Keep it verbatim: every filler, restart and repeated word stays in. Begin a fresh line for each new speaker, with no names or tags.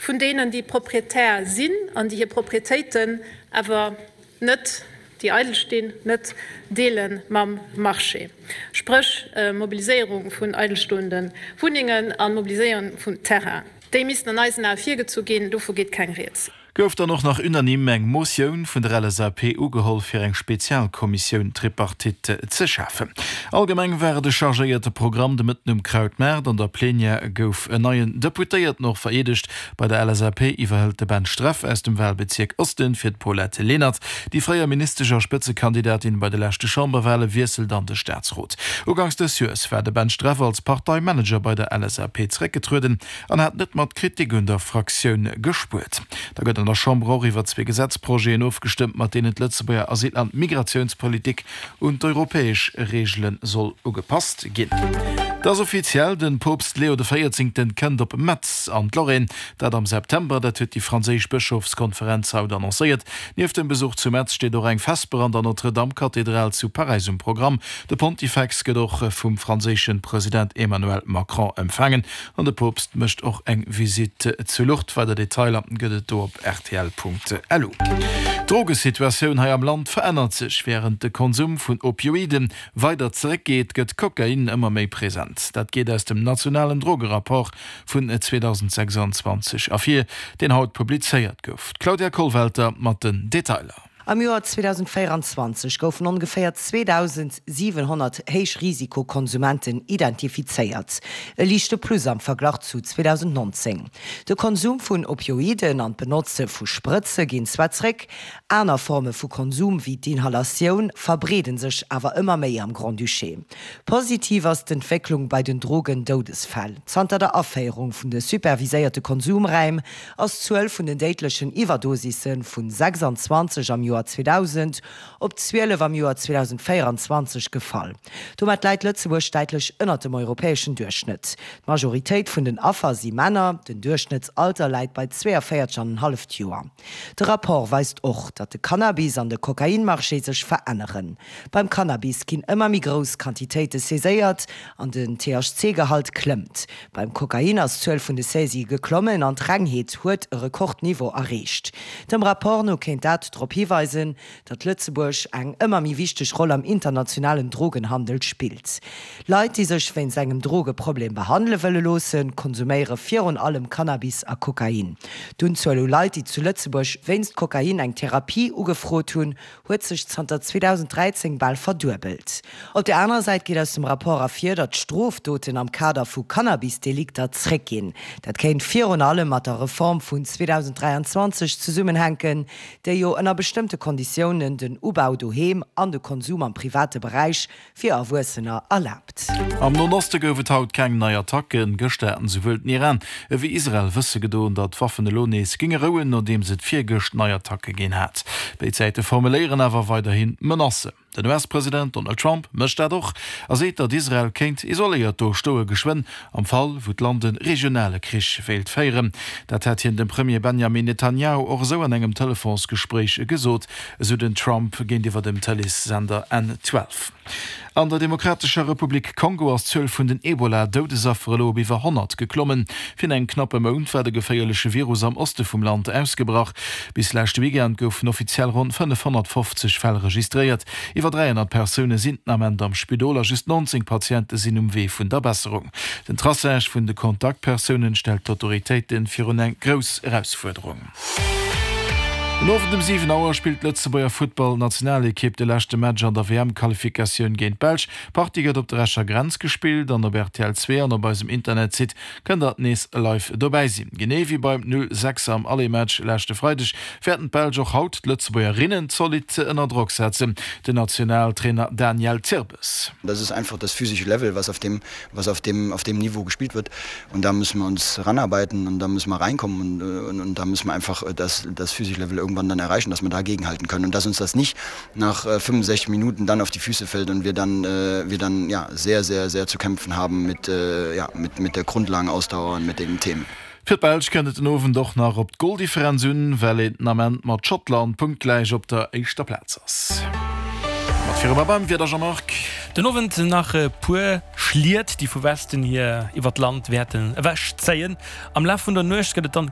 vun deenen, déi Proprietär sinn an déi hir Proprietéiten awer net, déi eidel stinn, net deele mam Marché, spréch Mobiliséierung vun eidelstoende Wunnengen a Mobiliséierung vun Terrainen. Déi missten an eisen Ae virgezu ginn. Dovu geet keng Rieds.
Gouf dann och nach unanime eng Motioun vun der L S A P ugeholl fir eng Spezialkommissioun Tripartite ze schafen. Allgemeng war et e chargéierte Programm de Mëtten um Krautmaart. An der Plenière gouf en neien Deputéierten och vereedegt. Bei der L S A P iwwerhëlt de Ben Streff aus dem Wahlbezierk Osten fir d'Paulette Lenert. Déi fréier Ministesch a Spëtzekandidatin bei de leschte Chamberwahle wiesselt an de Staatsrot. Uganks dës Joers war de Ben Streff als Parteimanager bei der L S A P zeréckgetrueden an hat net mat Kritik un der Fraktioun gespuert. Da gëtt an der Chamber och iwwer zwee Gesetzprojeten ofgestëmmt, mat deenen d'Lëtzebuerger Asyl an Migratiounspolitik un d'europäesch Reegele soll ugepasst ginn. Et ass offiziell, de Poopst Leo de Véierzéngten kënnt op Metz an d'Lorraine. Dat am September, dat huet déi franséisch Bëschofskonferenz haut annoncéiert. Nieft dem Besuch zu Metz steet och eng Vesper an der Notre-Dame-Kathedral zu Paräis um Programm. De Pontifex gëtt och vum franséische President Emmanuel Macron empfaangen an de Poopst mécht och eng Visitt zu Lourdes. Weider Detailer gëtt et do op rtl Punkt lu. D'Drogesituatioun hei am Land verännert sech. Wärend de Konsum vun Opioiden weider zeréckgeet, gëtt Kokain ëmmer méi present. Dat geet aus dem nationalen Drogerapport vun zweedausendsechsanzwanzeg ervir, deen haut publizéiert gouf. D'Claudia Kollwelter mat den Detailer.
Am Joer zweedausendvéieranzwanzeg goufen ongeféier zweedausendsiwenhonnert Héichrisikokonsumenten identifizéiert, e liichte Plus am Verglach zu zweedausendnonzéng. De Konsum vun Opioiden an d'Benotze vu Sprëtze ginn zwar zréck, aner Forme vu Konsum wéi d'Inhalatioun verbreede sech awer ëmmer méi am Grand-Duché. Positiv ass d'Entwécklung bei den Drogendoudesfäll. Zanter der Aféierung vun de superviséierte Konsumraim ass d'Zuel vun den déidlechen Iwwerdosisse vu sechsanzwanzeg am Joer zweedausend op zwielef am Joer zweedausendvéieranzwanzeg gefall. Domat läit Lëtzebuerg däitlech ënnert dem europäeschen Duerchschnëtt. D'Majoritéit vun den Affer si Männer, den Duerchschnëttsalter läit bei zweeënvéierzeg an en halleft Joer. De Rapport weist och, datt de Cannabis an de Kokainmarché sech veränneren. Beim Cannabis ginn ëmmer méi grouss Quantitéite saiséiert an den T H C-Gehalt klëmmt. Beim Kokain ass d'Zuel vun de Saisië geklommen an d'Rengheet huet e Rekordniveau erreecht. Dem Rapport no kéint dat drop hiweisen, datt Lëtzebuerg eng ëmmer méi wichteg Roll am internationalen Drogenhandel spillt. Leit, déi sech wéinst engem Drogeproblem behandele wëlle loossen, konsuméiere virun allem Cannabis a Kokain. D'Unzuel u Leit, déi zu Lëtzebuerg wéinst Kokain eng Therapie ugefrot hunn, huet sech zanter zweedausendräizéng bal verduebelt. Op der anerer Säit geet aus dem Rapport ervir, datt d'Strofdoten am Kader vu Cannabis-Delikter zréckginn. Dat kéint virun allem mat der Reform vun zweedausendräianzwanzeg zesummenhänken, déi jo ënner bestëmmte Konditiounen den Ubau doheem an de Konsum am private Beräich fir Erwuessener erlaabt.
Am Noen Oste gouf et haut keng nei Attacken. Gëschter haten souwuel den Iran ewéi Israel wësse gedoen, datt d'Waffen elo nees géinge rouen, nodeems et virgëscht nei Attacke ginn hat. Béid Säite formuléieren awer weiderhi Menacen. Den U S-President Donald Trump mécht dat och a seet, datt Israel kéint isoléiert do stoe geschwënn, am Fall wou d'Land e regionale Krich wéilt féieren. Dat hätt hien dem Premier Benjamin Netanjahu och esou an engem Telefonsgespréich gesot, esou den Trump géintiwwer dem Tëleessender N zwölf. An der Demokratescher Republik Kongo ass d'Zuel vun den Ebola-Doudesaffer elo op iwwer honnert geklommen. Virun engem knappe Mount war de geféierleche Virus am Oste vum Land ausgebrach. Bis leschte Weekend goufen offiziell ronn fënnefhonnertfofzeg Fäll registréiert. Iwwer dräihonnert Persoune sinn den Ament am Spidol a just nonzéng Patiente sinn um Wee vun der Besserung. Den Traçage vun de Kontaktpersoune stellt d'Autoritéite virun eng grouss Erausfuerderung. Den Owend um siwen Auer spillt d'Lëtzebuerger Futtballnationalekipp de leschte Match an der W M-Qualifikatioun géint d'Belsch. D'Partie gëtt op der Escher Grenz gespillt an op R T L zwee an op eisem Internetsite kënnt der nees live dobäi sinn. Genee wéi beim null sechs am Aller-Match leschte Freideg wäerten d'Belsch och haut d'Lëtzebuergerinnen zolidd ënner Drock setzen. Den Nationaltrainer Daniel Zirbes.
Das ist einfach das physische Level, was auf dem, was auf dem, auf dem Niveau gespielt wird. Und da müssen wir uns ranarbeiten und da müssen wir reinkommen und, und, und da müssen wir einfach das, das physische Level irgendwann dann erreichen, dass wir dagegenhalten können und dass uns das nicht nach fünfundsechzig Minuten dann auf die Füße fällt und wir dann, äh, wir dann ja, sehr, sehr, sehr zu kämpfen haben mit, äh, ja, mit, mit der Grundlagenausdauer und mit den Themen.
Fir d'Belsch kënnt et den Owend och nach op d'Goldifferenz un, well een den Ament mat Schottland punktgläich op der éischter Plaz ass. Mat viru mer beim Wieder, Jean-Marc.
Den Owend nach e puer Schliet, déi vu Westen hier iwwer d'Land wäerten ewechzéien. Am Laf vun der Nuecht gëtt et dann